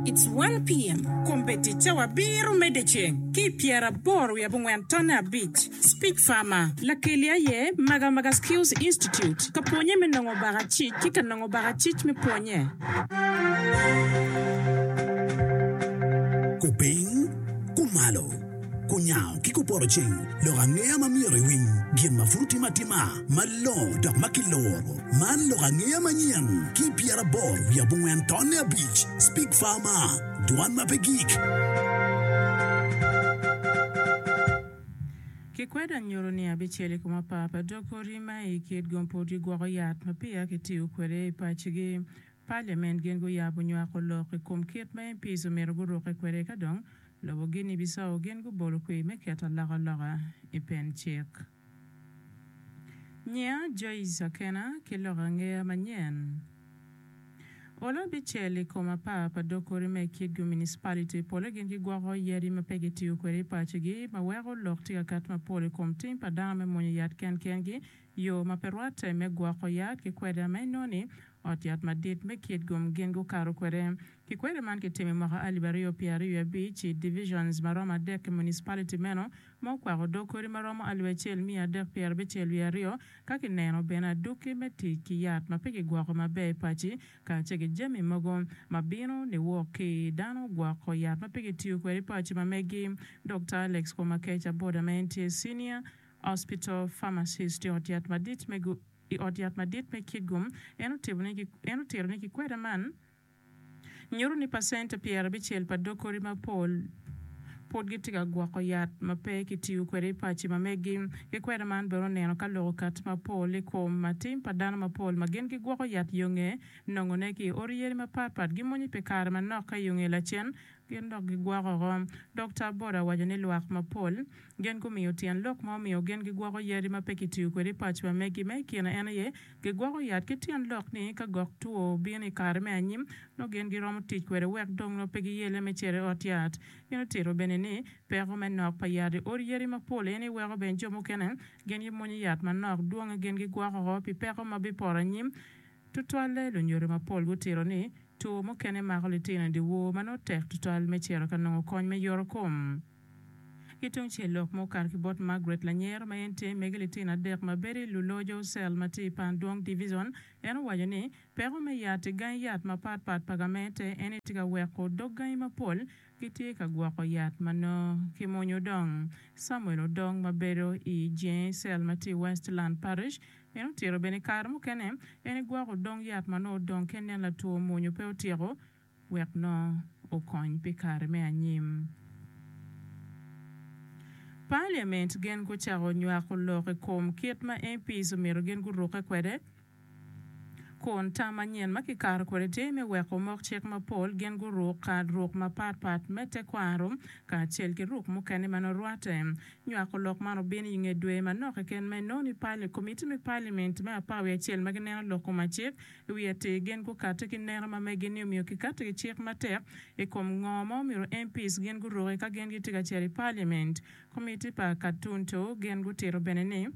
It's one PM. Kombeddi cawa abiro me dyeceng ki i pyeraboro wiye abongwen tonne abic. Speech Farmer, Lakeli aye Maga Maga Skills Institute ka pwonye me nongo bakacic ki ka nongo bakacic me pwonye. Kupiny, kumalo, kunyango ki kupoto ceng, lok angeya ma myero iwiny, gin ma pud otime atima, malongo dok ma kiluro. Man lok angeya manyen ki i 84 tonne abic, Speak Farmer, dwan ma pe gik. Kikwedo anyuto ni abicel i kom apar pa dog odi ma i kit gum pud gigwoko yat ma peya kitiyo kwede i pacigi. Parliament gin guyabo nywako lok i kom kit ma MPs omyero gurukke kwede ka dong lobo Guinea Bissau gin gubolo kwir me keto alokaloka i pen cik. Nyinga Joyce Akena ki lok angeya manyen. Olo abicel i kom apar pa dog kodi ma i Kitgum Municipality pole gin gigwoko yadi ma pe gitiyo kwede i pacigi ma weko lok tye ka kati mapol i kom tim pa dano me mwonyo yat kenkengi, yo ma pe rwatte me gwoko yat ki kweda ma inongo ni ot yat madit me Kitgum gin gukato kwede. Ki kweda man kitimo i mwaka 2025 i divisions ma romo adek i municipality meno ma okwako dog kodi ma romo alip acel miya adek pyerabicel wiye aryo, ka kineno bene adwogi me tic ki yat ma pe kigwoko maber i paci kacel ki jami mogo ma bino niwok ki dano gwoko yat ma pe kitiyo kwede i paci ma megi. Dokta Alex Komakech Aboda ma en tye Senior Hospital Pharmacist i ot yat madit me i ot yat madit me Kitgum en otito ni kikweda man Nyuto ni pacente 90 pa dog kodi mapol pud gitye ka gwoko yat ma pe kitiyo kwede i paci ma meggi. Ki kweda man bene oneno ka lok okatti mapol i kom tim pa dano mapol ma gin gigwoko yat yonge nongone ki i odi yadi mapatpat gimonyo pi kare manok ka yonge lacen gin dok gigwoko oko. Dokta Aboda owaco ni lwak mapol gin gumiyo tyen lok ma omiyo gin gigwoko yadi ma pe kitiyo kwede i paci ma meggi ma i kine en aye Gigwoko yat ki tyen lok ni ka gok two obino i kare me anyim, nongo gin giromo tic kwede wek dong nongo pe giyelle me cito i ot yat. Gin otito bene ni, peko me nok pa yat i odi yadi mapol eni weko bene jo mukene gin gimwonyo yat manok dwonge gin gigwoko oko pi peko ma bipoto anyim. Tutwalle lunyodo mapol gutito ni two mukene mako litino i dyewor ma nongo tek tutwal me cito ka nongo kony me yoto kom. Ki tungcel lok ma okato ki bot Margaret Lanyero ma en tye megi litino adek ma bedo i Lulojo Cell ma tye i Pandwong Division, en owaco ni, Peko me yat i gangi yat mapat pat pa gamente en aye tye ka weko dog gangi mapol gitye ka gwoko yat ma nongo kimwonyo odong. Samuel Odong ma bedo i Jenge Cell ma tye i Westland Parish en otito bene i kare mukene en egwoko odong yat ma nongo odong ka inen latwo mwonyo pe otyeko wek nongo okony pi kare me anyim. Parliament gin gucako nywako lok i kom kit ma MPs omyero gin gurukke kwede kun tam manyen ma kikato kwede tye me weko omok cik mapol gin guruk ruk mapat pat me tekwaro kacel ki ruk mukene ma nongo rwatte. Nywako lok man obino i nge dwe manok keken ma inongo ni komiti me parliament me apar wiye acel ma gineno lok kom acik I wi atir gin gukati ki neno ma megi ni omyero kikati ki cik matek i kom ngo ma omyero MPs gin guruki ka gin gitye ka cito i Parliament. Komiti pa Katuntu gin gutito bene ni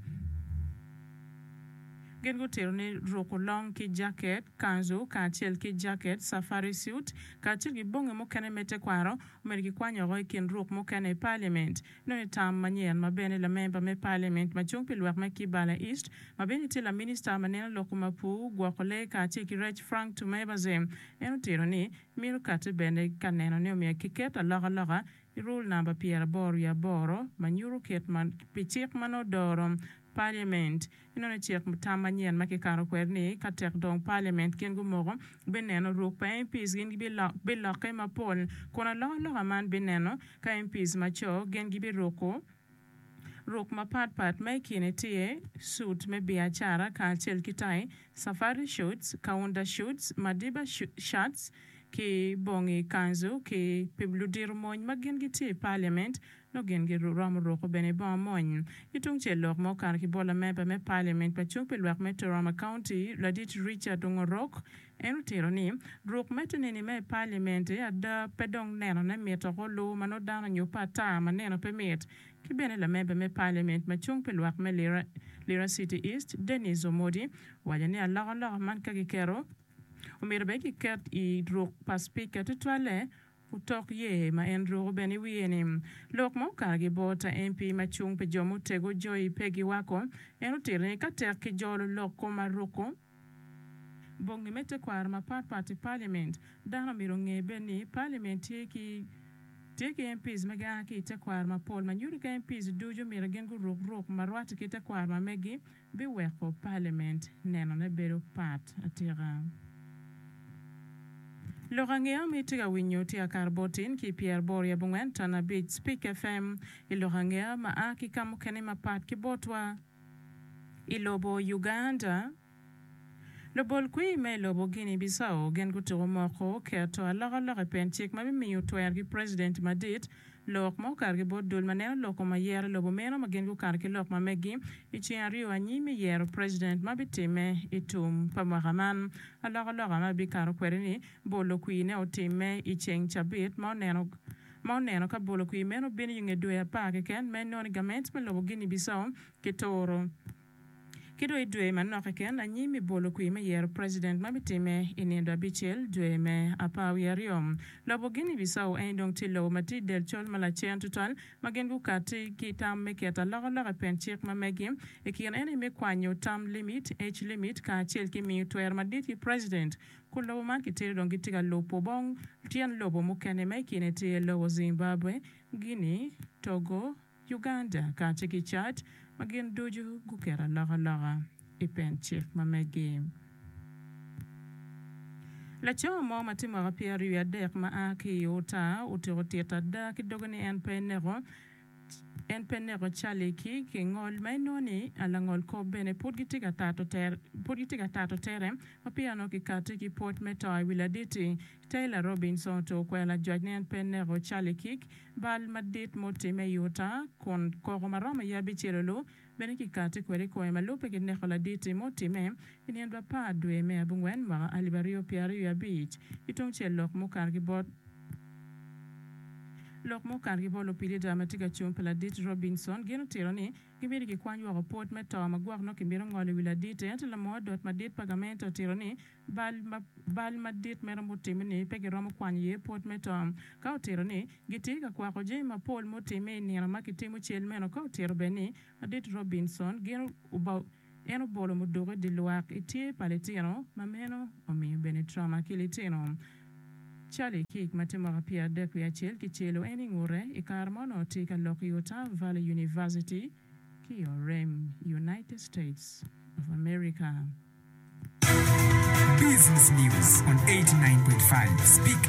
gin gutito ni ruko long ki jaket, kanzu kacel ki jaket, safari suit, kacel ki bongi mukene me tekwaro omyero kikwany woko i kin ruk mukene i Parliament. Nongo i tam manyen ma bene lamemba me Parliament ma cung pi lwak me Kibala East ma bene tye laminista ma neno lok kom apur, gwoko lee kacel ki rec Frank Tumebaze en otito ni mito kati bene ka neno ni omyero kiket alokaloka i rule namba 88 ma nyuto kit ma pi cik ma nongo doro Parliament. Inongo ni cik tam manyen ma kikato kwede ni ka tek dong Parliament gin gumoko bineno ruk pa MPs gin gibilokke mapol kun alokaloka man bineno ka MPs ma co gin gibiruko ruk mapat pat ma i kine tye suit me biacara kacel ki tai, safari shorts, kaunda shorts, madiba shirts ki bongi kanzu ki pi ludito mony ma gin gitye i Parliament Nongo gin giromo ruko bene bongo mony. Ki tungcel lok ma okato ki bot lamemba me Parliament ma cung pi lwak me Toroma County, Ladit Richard Ongorok, en otito ni, Ruk me te nini me i Parliament ada pe dong nenone mit oko lu ma nongo dano onyubbe ata ma neno pe mit. Ki bene lamemba me Parliament ma cung pi lwak me Lira City East, Dennis Omodi, owaco ni alokaloka man ka giketo. Omyero bene kiket i ruk pa cipika tutwalle otok ye ma en ruko bene i wiye-ni. Lok ma okato ki bot MP ma cung pi jo mutego Joy Peggy Wako, en otito ni ka tek kijolo lok kom aruko bongi me tekwaro mapatpat i Parliament, dano myero onge bene ni Parliament tye ki tye ki MPs ma gia ki i tekwaro mapol ma nyuto ka MPs ducu myero gin guruk ruk ma rwatte ki tekwaro ma megi biweko Parliament nenone bedo pat atika. Lok angeya ma itye ka winyo tye akato bot tin ki i pyeraboro i abongwen ton abic Speak FM i lok angeya ma a ki ka mukene mapat ki botwa i lobo Uganda. Lubol kwir me i lobo Guinea Bissau gin gutuko moko keto alokaloka i pen cik ma bimiyo twero ki president madit lok ma okato ki bot dul ma neno lok kom ayera i lobo meno ma gin gukato ki lok ma meggi i ceng aryo anyim me yero president ma bitimme i tum pa mwaka man. Alokaloka ma bikato kwede ni bolo kwir ne otimme i ceng cabit ma oneno ma oneno ka bolo kwir meno bino i nge dwe apar keken ma inongo ni gament me lobo Guinea Bissau ki turo. Ki dong i dwe manok keken anyim i bolo kwir me yero president ma bitimme i nindo abicel dwe me apar wiye aryo. Lobo Guinea Bissau eni dong tye lobo ma tye i del col ma lacen tutwal ma gin gukati ki tam me keto alokaloka i pen cik ma megi i kin eni me kwanyo term limit, age limit, kacel ki miyo twero madit ki president kun lobo man kitero dong gitye ka lubo bong tyen lobo mukene ma i kine tye lobo Zimbabwe, Guinea, Togo, Uganda kacel ki Chad ma gin ducu guketo alokaloka i pen cik ma megi. Laco mo ma tye mwaka pyeraryo wiye adek ma a ki i Utah otyeko tito ada ki doge ni en pe eneko en pe eneko Charlie Kirk i ngol ma inongo ni langol kop bene pud gitye ka tato tere pud gitye ka tato tere ma peya onongo kikati ki pwod me to i wi ladit-ti. Taylor Robinson otuko kwero lajwac ni en pe eneko Charlie Kirk Bal madit mutimme i Utah, kun koko ma romo aye abicel olu bene kikati kwede i kome ma lubbe ki neko ladit-ti mutimme i nino apar dwe me abongwen mwaka alip aryo pyeraryo abic. Ki tungcel lok mukato ki bot lok mukato ki bot lupilida ma tye ka cung pi ladit Robinson gin otito ni gimito kikwany woko pwod me to ma gwok nongo kimito ngolo i wi ladit-ti ento lamor dot madit pa gamente otito ni Bal ma bal madit meno mutimme-ni pe giromo kwanyo iye pwod me to. Ka otito ni, gitye ka kwako jami mapol mutimme i nino ma kitimo cel meno. Ka otito bene ni, Ladit Robinson gin en obolo muduku i dye lwak i tye pa litino, ma meno omiyo bene trauma ki litino. Charlie Kirk ma tye mwaka 31 wiye acel kicelo en i ngute i kare ma onongo tye ka lok i Utah Valley University ki i Orem, United States of America. Business News on 89.5 Speak.